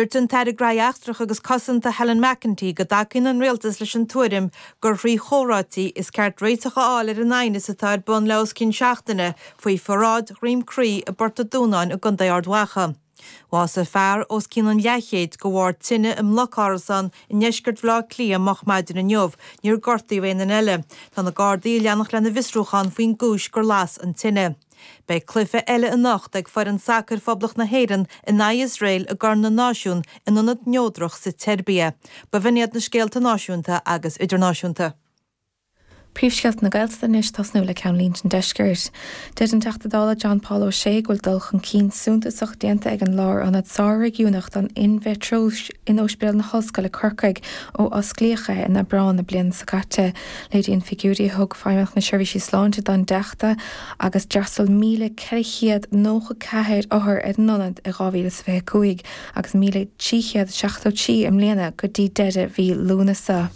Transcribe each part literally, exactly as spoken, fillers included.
Dúirt an tAire Gnóthaí Eachtracha agus Cosanta Helen McEntee go dtacaíonn an rialtas leis an tuairim gur thrí chomhráití is ceart réiteach a fháil ar an aighneas atá ar bun le os cionn seachtaine faoi pharáid Dhroim Crí i bPort an Dúnáin i gContae Ard Mhacha. Bhásaigh fear os cionn an leathchéid de bharr tine i mblocárasán i ndeisceart Bhaile Átha Cliath moch maidin inniu, níor gortaíodh aon duine eile. Tá na Gardaí ag leanacht lena bhfiosrúchán faoin gcúis gur las an tine. Beidh cluiche eile anocht ag foireann sacair Phoblacht na hÉireann in aghaidh Iosrael i gCorn na Náisiún in ionad neodrach sa tSeirbia. B'in iad na scéalta náisiúnta agus idirnáisiúnta. Príomhscéalta na Gaeltachta anois tosnú le ceannlínte an deiscirt. Deir an Teachta Dála John Paul O'Shea go bhfuil dul chun cinn suntasach déanta ag an lárionad sár-réigiúnach don endometrióis in Ospidéal na hOllscoile Corcaigh ó osclaíodh é in Aibreán na bliana seo caite. Léiríonn figiúirí a thug Feidhmeannacht na Seirbhísí Sláinte don Teachta agus d'fhreastail míle ceithre chéad nócha ceathair othar ar an ionad i dhá mhíle is fiche cúig agus míle trí chéad seachtó trí i mbliana go dtí deireadh mhí Lúnasa.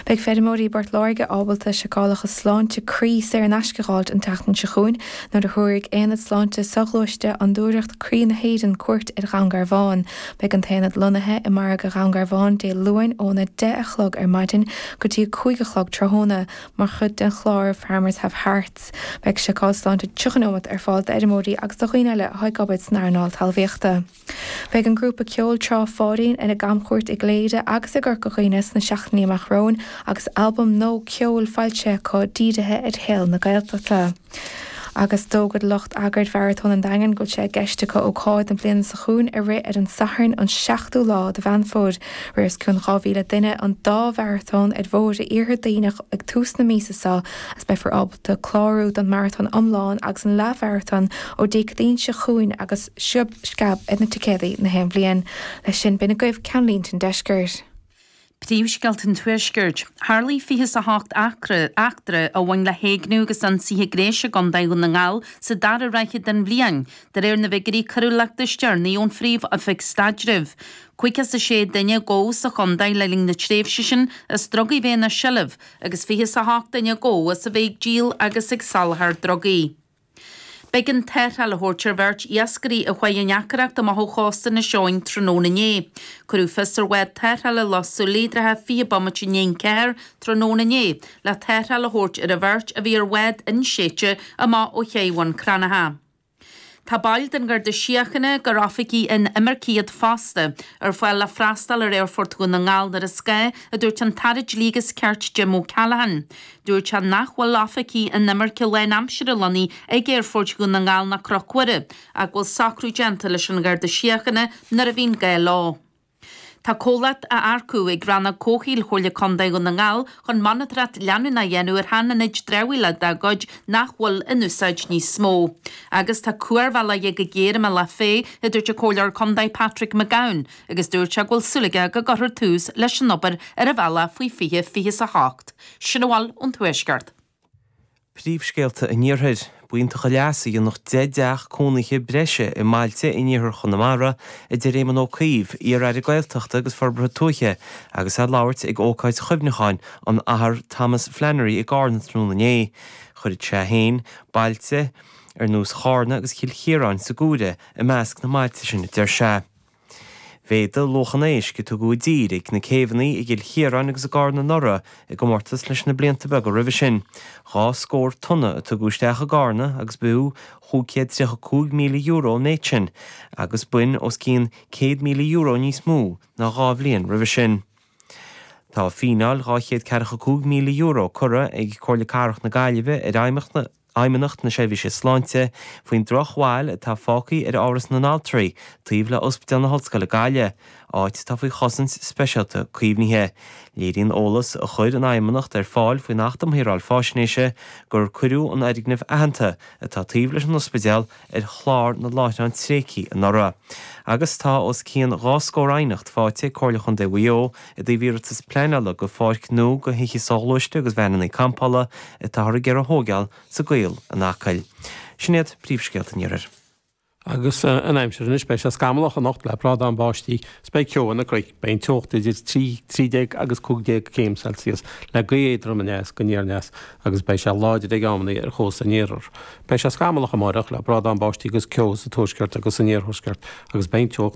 Beidh feirmeoirí i bPort Láirge ábalta seiceálacha sláinte croí saor in aisce a fháilt an tseachtain seo chugainn nuair a thabharfaidh Aonad Sláinte Soghluaiste Fhondúireacht Croí na hÉireann cuairt ar Dhún Garbhán. Beidh an t-aonad lonnaithe i margadh Dhún Garbhán Dé Luain óna deich a chlog ar maidin go dtí a cúig a chlog tráthnóna mar chuid den chlár Farmers Have Hearts. Beidh seiceáil sláinte tríocha nóiméad ar fáil d'fheirmeoirí agus do dhaoine eile atá ag obair san earnáil talmhaíochta. Beidh an grúpa ceoil Trá Pháidín ar a gcamchuairt i gCléire agus i gCorca Dhuibhne sna seachtainí amach romhainn agus albam nua ceoil foilsithe acu dírithe ar shaol na Gaeltachta. Agus d'fhógair lucht eagraithe Mharatón an Daingin go bhfuil sé i gceist acu ócáid na bliana seo chugainn a rith ar an Satharn an seachtú lá de Mheán Fómhair. Rith os cionn dhá mhíle duine an dá mharatón ar bhóithre iarthar Duibhneach ag tús na míosa seo agus beifear ábalta clárú don maratón iomlán agus an leathmharatón ó Dé Céadaoin seo chugainn agus sciob sceab ar na ticéadaí na haon bhliain. Leis sin b'in agaibh ceannlínte an deiscirt. Príomhscéalta an Tuaiscirt. Tharlaigh fiche a hocht eachtra a bhain le héigniú agus ionsaithe gnéis i gContae Dhún na nGall sa dara ráithe den bhliain. De réir na bhfigiúirí coiriúlachta is deireanaí ón Phríomh-Oifig Staidrimh. Caoga is a sé duine a gabhadh sa chontae le linn na tréimhse sin as drugaí bheith ina seilbh agus fiche a hocht duine a gabhadh as a bheith ag díol agus ag soláthar drugaí. B'éigean tarrtháil a thabhairt ar bheirt iascairí a chuaigh i ndeacracht amach ó chósta Inis Eoghain tráthnóna inné. Cuireadh fios ar bhád tarrthála Loch Súilí i dtrátha fiche bomaite i ndiaidh a ceathair tráthnóna inné le tarrtháil a thabhairt ar an bheirt a bhí ar bhád inséidte amach ó ché Bhun Cranncha. Tá baill den Gharda Síochána gur oifigigh inimirce iad fosta ar fáil le freastal ar Aerfort Dhún na nGall nuair is gá, a dúirt an tAire Dlí agus Cirt Jim O'Callaghan. Dúirt sé nach bhfuil oifigigh inimirce lánaimseartha lonnaithe ag Aerfort Dhún na nGall ná Cnoc Mhuire, ach go bhfuil socrú déanta leis an Gharda Síochána nuair a bhíonn gá leo. Tá comhlacht á earcú ag Rannóg Comhshaoil Chomhairle Contae Dhún na nGall chun monatóireacht leanúnach a dhéanamh ar shean-ionaid dramhaíola dá gcuid nach bhfuil in úsáid níos mó. Agus tá cuarbhealach ag géar i mBealach Féich, a dúirt an Comhairleoir Contae Patrick McGowan, agus dúirt sé go bhfuil súil aige go gcuirfear tús leis an obair ar an bhealach faoi fiche fiche a hocht. Sin a bhfuil ón Tuaisceart. Príomhscéalta an Iarthair, B'iontach an leas a dhéanfadh deich dteach cónaithe breise i mbailte in iarthar Chonamara, a deir Éamon Ó Cuív, iar-aire Gaeltachta agus Forbartha Tuaithe, agus é ag labhairt ag ócáid chuimhneacháin an Athar Thomas Flannery i gCarna tráthnóna inné. Chuirfeadh sé féin bailte ar nós Charna agus Chill Chiaráin sa gcomhaireamh i measc na mbailte sin, a deir sé. Mhéadaigh luach an éisc a tugadh i dtír ag na céibheanna i gCill Chiaráin agus i gCarna anuraidh i gcomórtas leis na blianta beaga roimhe sin. Dhá scór tonna a tugadh isteach i gCarna agus b'fhiú chúig chéad tríocha cúig míle euro an méid sin, agus b'in os cionn céad míle euro níos mó ná dhá bhliain roimhe sin. Tá fíneáil dhá chéad ceathracha cúig míle euro curtha ag Comhairle Cathrach na Gaillimhe ar Fheidhmeannacht Fheidhmeannacht na Seirbhíse Sláinte faoin drochbhail atá fágtha ar Áras na nAltraí taobh le Ospidéal na hOllscoile Gaillimh, áit atá faoi chosaint speisialta caomhnaithe. Léiríonn eolas a chuir an Fheidhmeannacht ar fáil faoin Acht um Shaoráil Faisnéise gur cuireadh an fhoirgneamh aitheanta atá taobh leis an ospidéal ar chlár na láithreán tréigthe anuraidh. Agus tá os cionn dhá scór aighneacht faighte ag Comhairle Chontae Mhaigh Eo i dtaobh iarratas pleanála go pháirc nua do thithe soghluaiste agus veaineanna campála atáthar ag iarraidh a thógáil sa gCaol in Acaill. Sin iad príomhscéalta an Iarthair. Agus an aimsir anois beidh sé scamallach anocht le brádán báistí is beidh ceo ar na cnoic, beidh an teocht idir trí trí déag agus cúig déag céim Celsius le gaoth éadrom aneas go aniar aneas agus beidh sé láidir ag amanna ar chósta an iarthair. Beidh sé scamallach amárach le brádán báistí agus ceo sa tuaisceart agus san iarthuaisceart agus beidh an teocht